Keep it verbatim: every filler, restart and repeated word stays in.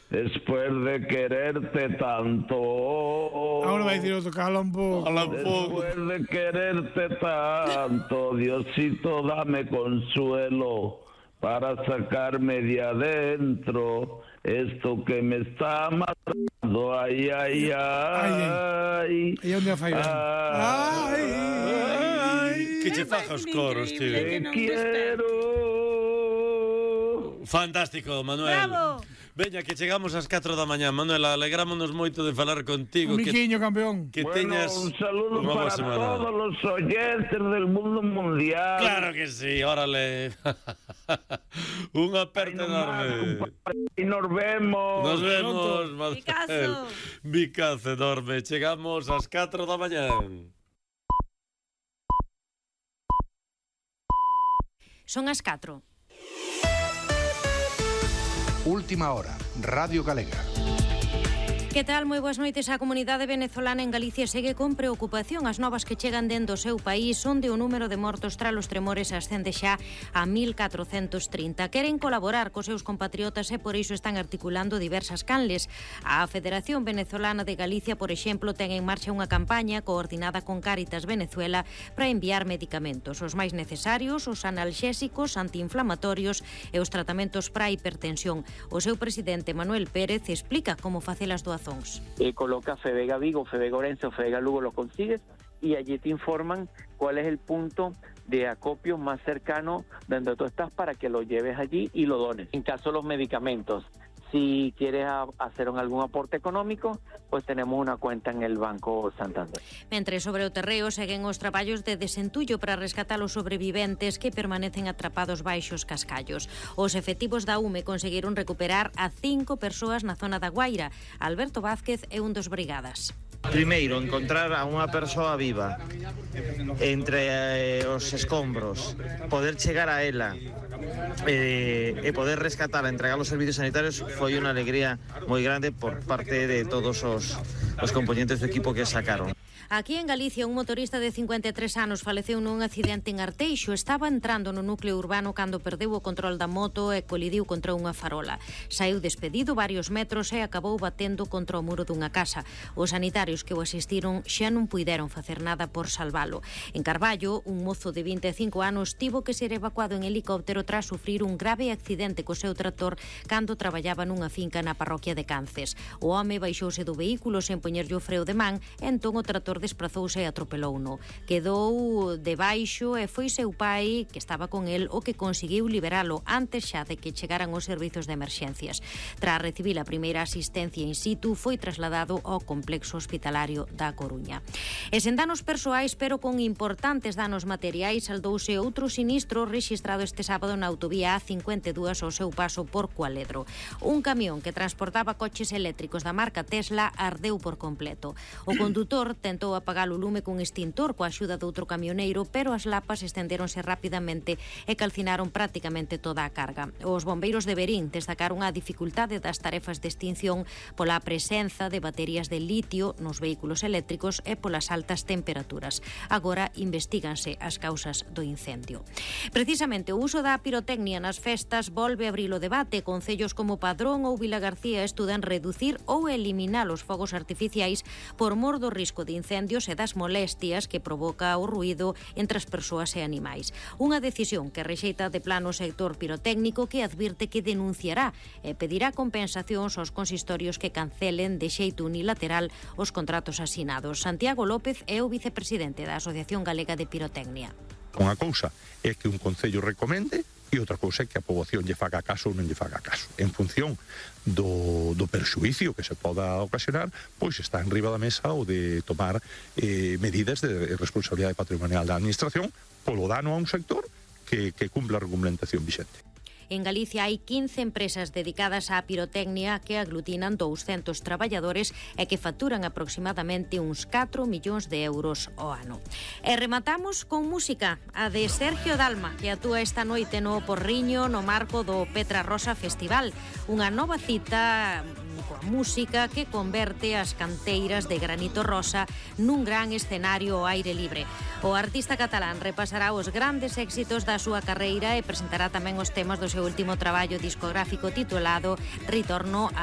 Después de quererte tanto. Ahora va a decir otro, cala un poco. Después de quererte tanto, Diosito, dame consuelo para sacarme de adentro esto que me está matando. Ay, ay, ay. ¿Y dónde ha fallado? Ay, ay. Que che faja os coros, tío. Te quiero. Fantástico, Manuel. Bravo. Veña, que chegamos ás catro da mañá. Manuel, alegrámonos moito de falar contigo. Un miquiño, campeón. Que bueno, teñas un saludo para semana. Todos los oyentes del mundo mundial. Claro que sí, órale. Un aperto enorme. Y nos vemos. Nos vemos, Manuel. Bicazo. Bicazo enorme. Chegamos ás catro da mañá. Son as catro. Última hora, Radio Galega. Que tal? Moi boas noites. A comunidade venezolana en Galicia segue con preocupación. As novas que chegan dentro do seu país son de o número de mortos tras os tremores ascende xa a mil catrocentos trinta. Queren colaborar cos seus compatriotas e por iso están articulando diversas canles. A Federación Venezolana de Galicia, por exemplo, ten en marcha unha campaña coordinada con Cáritas Venezuela para enviar medicamentos, os máis necesarios, os analxésicos, antiinflamatorios e os tratamentos para a hipertensión. O seu presidente, Manuel Pérez, explica como facer as doacións. Eh, coloca Fevega Vigo, Fevega Orense o Fevega Lugo, lo consigues y allí te informan cuál es el punto de acopio más cercano donde tú estás para que lo lleves allí y lo dones. En caso de los medicamentos, si quieres a, hacer un, algún aporte económico, pues tenemos una cuenta en el Banco Santander. Mentre sobre o terreo seguen os traballos de desentullo para rescatar os sobreviventes que permanecen atrapados baixos cascallos. Os efectivos da U M E conseguiron recuperar a cinco persoas na zona da Guaira. Alberto Vázquez é un dos brigadas. Primeiro, encontrar a unha persoa viva entre eh, os escombros, poder chegar a ela eh, e poder rescatar, entregar os servicios sanitarios foi unha alegría moi grande por parte de todos os, os componentes do equipo que sacaron. Aquí en Galicia, un motorista de cincuenta e tres anos faleceu nun accidente en Arteixo. Estaba entrando no núcleo urbano cando perdeu o control da moto e colidiu contra unha farola. Saíu despedido varios metros e acabou batendo contra o muro dunha casa. Os sanitarios que o asistiron xa non puideron facer nada por salvalo. En Carballo, un mozo de vinte e cinco anos tivo que ser evacuado en helicóptero tras sufrir un grave accidente co seu tractor cando traballaba nunha finca na parroquia de Cances. O home baixouse do vehículo sen poñerlle o freo de man, e entón o tractor desprazouse e atropelouno. Quedou debaixo e foi seu pai, que estaba con el, o que conseguiu liberalo antes xa de que chegaran os servizos de emerxencias. Tras recibir a primeira asistencia in situ, foi trasladado ao complexo hospitalario da Coruña. E sen danos persoais, pero con importantes danos materiais, saldouse outro sinistro rexistrado este sábado na autovía A cincuenta e dous ao seu paso por Cualedro. Un camión que transportaba coches eléctricos da marca Tesla ardeu por completo. O condutor tentou apagar o lume cun extintor coa axuda de outro camioneiro, pero as lapas estendéronse rapidamente e calcinaron prácticamente toda a carga. Os bombeiros de Verín destacaron a dificultade das tarefas de extinción pola presenza de baterías de litio nos vehículos eléctricos e polas altas temperaturas. Agora investíganse as causas do incendio. Precisamente o uso da pirotecnia nas festas volve a abrir o debate. Concellos como Padrón ou Vilagarcía estudan reducir ou eliminar os fogos artificiais por mor do risco de incendios e das molestias que provoca o ruído entre as persoas e animais. Unha decisión que rexeita de plano o sector pirotécnico, que advirte que denunciará e pedirá compensacións aos consistorios que cancelen de xeito unilateral os contratos asinados. Santiago López é o vicepresidente da Asociación Galega de Pirotecnia. Unha cousa é que un concello recomende e outra cousa é que a poboación lle faga caso ou non lle faga caso. En función do, do perxuicio que se poda ocasionar, pois está en riba da mesa o de tomar eh, medidas de responsabilidade patrimonial da administración polo dano a un sector que, que cumpla a regulamentación vixente. En Galicia hai quince empresas dedicadas á pirotecnia que aglutinan douscentos traballadores e que facturan aproximadamente uns catro millóns de euros ao ano. E rematamos con música, a de Sergio Dalma, que actúa esta noite no Porriño no marco do Petra Rosa Festival, unha nova cita coa música que converte as canteiras de granito rosa nun gran escenario ao aire libre. O artista catalán repasará os grandes éxitos da súa carreira e presentará tamén os temas do seu último traballo discográfico titulado Ritorno a